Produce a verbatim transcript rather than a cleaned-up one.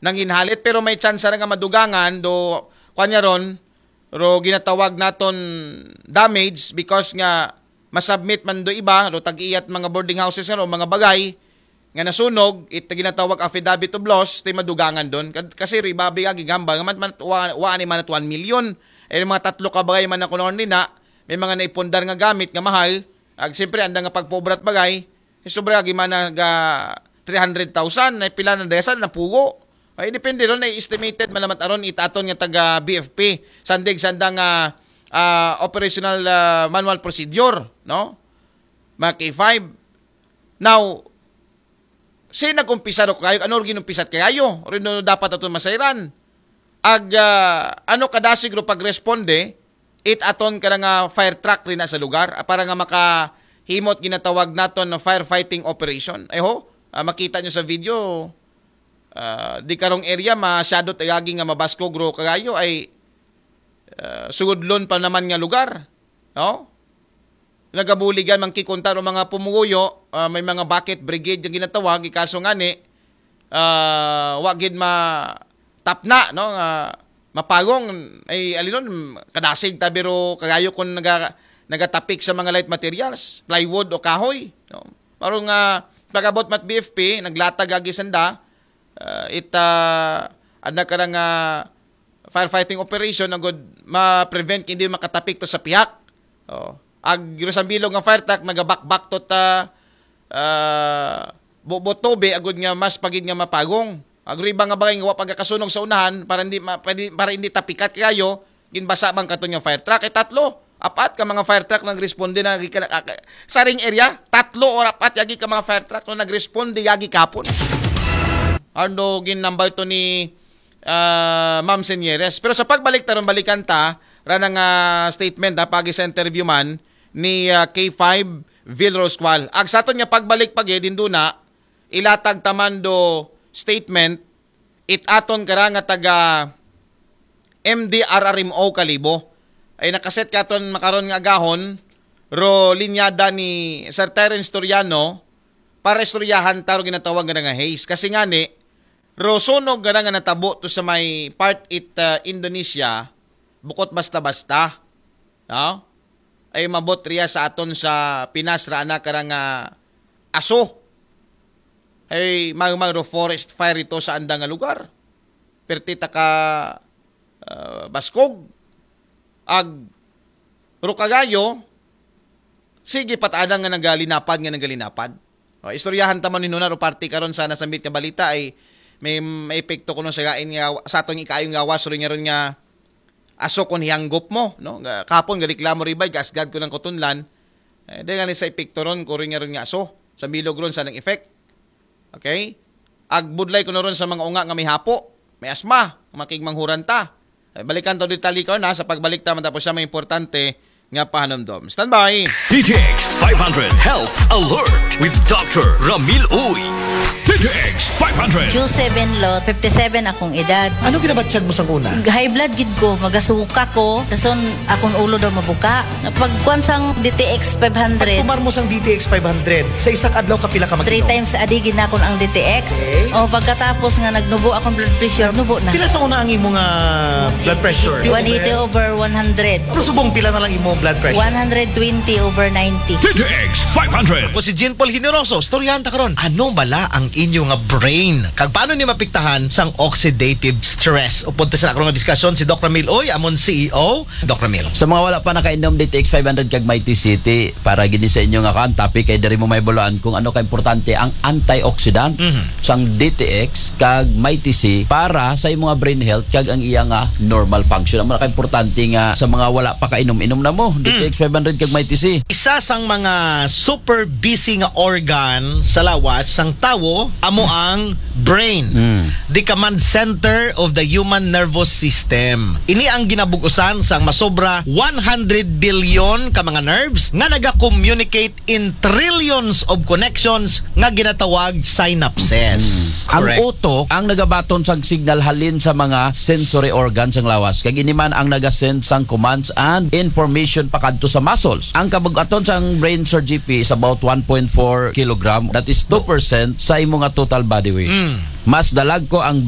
nanginhalit, pero may tsansa ra nga madugangan do, kuan niya ron, ro ginatawag naton damage because nga masubmit man do iba, ro tag-iyat mga boarding houses nga ro, mga bagay nga nasunog, it ginatawag affidavit of loss, ti madugangan don. Kad-, kasi ro ibabi nga gigamba nga man, man, wa, wa ni man at one million. Ay, mga tatlo ka bagay man ako noon nina, may mga naipundar nga gamit nga mahal. Ag siyempre, anda nga pagpobrat bagay, eh, sobra gi man nag, ah, three hundred thousand, na pila na desa na pugo. Ay, depende ron, ay estimated man naman aron itaton nga taga B F P. Sandig sanda nga, ah, operational, ah, manual procedure, no? Mga K five. Now, si nag-umpisa ro kayo, ano ro ginumpisat kayo? Rin no dapat aton masayran. Ag, ah, ano kadasig ro pagresponde, it aton ka nga fire truck rin na sa lugar, ah, para nga makahimot ginatawag naton na firefighting operation. Ay ho, ah, makita nyo sa video, ah, di karong area, masyado tagagi nga mabaskog ro kagayo ay, ah, sugudlon pa naman nga lugar. No? Nagabuligan man kikunta ro mga pumuguyo, ah, may mga bucket brigade nga ginatawag, ikaso nga ni, ah, wa gid ma-, tapna, no, nga mapagong, ay, alinon, kadasig tabiro kagayo kung naga-, nagatapik sa mga light materials, plywood o kahoy, no? Parang nga, pag-abot mat B F P, naglatag agi sanda, ah, it, ah, anda ka nga firefighting operation, agud ma-prevent hindi makatapik to sa pihak. Oh. Ag, ro sa bilog nga fire truck, nagabakbak to ta, ah, bubot tobe, agud nga mas pagid nga mapagong. Ag, ro iba nga bagay nga wa pagkakasunog sa unahan, para hindi, ma-, pwede, para hindi tapikat kayo, ginbasa bang katon nga fire truck. Ay, tatlo, apat ka mga fire truck nagresponde na, agi ka, ka-, sa ring area, tatlo or apat, agi ka mga fire truck no nagresponde, agi kapon. Arno, ginambal to ni, ah, Ma'am Senyeres. Pero sa pagbalik taron, balikan ta, ranang, ah, statement, ha, pagi sa interview man ni, ah, K five Vil Roscual. Ag sa aton nga pagbalik pagi, dindo na, ilatag taman do statement, it aton kara nga taga M D R R M O Kalibo. Ay nakaset katon makaron nga agahon, ro linyada ni Sir Terence Toriano, para istoryahan taro ginatawag nga nga haze. Kasi nga ni, ro sunog nga nga natabo to sa may part it, uh, Indonesia, bukot basta-basta. No? Ay mabot riya sa aton sa Pinas ra ana kara nga aso. Ay magmag ro forest fire ito sa andang nga lugar. Perti taka, uh, baskog. Ag ro kagayo, sige pat adang nga nagalinapad, nga nagalinapad. O, istoryahan ta man ni Nuna, ro parte karon sa nasambit nga balita ay may, may epekto kuno sa gain nga sa atong ikaayo nga gawas, ro nga ron nga aso kon hiyanggop mo, no? Nga, kapon, gareklamo ribay, gasgad ko ng kutunlan. Eh, dahil nga ni sa epekto ron, ko rin nga ron nga aso. Sa bilog ron, sa nang effect. Okay? Agbudlay ko na ron sa mga unga nga may hapo, may asma, makigmanghuran ta. Eh, balikan to detalye ko na sa pagbalik ta matapos siya may importante nga pahanumdom. Standby! D T X five hundred Health Alert with Doctor Ramil Uy. D T X five hundred. Q seven lot, fifty-seven akong edad. Ano ginabatyag mo sa una? High blood gid ko, magasuka ko, dason akong ulo daw mabuka. Pagkuan sang D T X five hundred, Tumar mo sang D T X five hundred. Sa isang adlaw, kapila ka three mag-inom? Times a day gid na akong ang D T X. Okay. O pagkatapos nga nagnubo akong blood pressure, nubo na. Pila sa una ang imo nga blood pressure? One eighty over one hundred. Pero subong pila na lang imo blood pressure? One hundred twenty over ninety. D T X five hundred. Ako si Jean Paul Generoso. Storyahan ta karon. Ano bala ang inyo nga brain? Kag paano ni mapiktahan sang oxidative stress? Upod ta sa karon nga diskusyon si Doc Ramil Uy, amon C E O. Doc Ramil. Sa mga wala pa nakainom D T X five hundred kag Mighty City, para gini sa inyo nga kan topic kay diri mo may buluan kung ano ka importante ang antioxidant Mhm. sang D T X kag Mighty C para sa imong brain health kag ang iya nga normal function. Ang mga importante nga sa mga wala pa kainom, inom na mo D T X five hundred kag Mighty C. Isa sang mga super busy nga organ sa lawas sang tawo amo ang brain. Mm. The command center of the human nervous system. Ini ang ginabugusan sang masobra one hundred billion ka mga nerves nga naga-communicate in trillions of connections nga ginatawag synapses. Ang Correct. utok ang nagabaton sang signal halin sa mga sensory organs sang lawas. Kag ini man ang nagasend sang commands and information pakadto sa muscles. Ang kabug-aton sang brain, Sir G P, is about one point four kilogram. That is two percent sa imo nga total body weight. Mm. Mas dalagko ang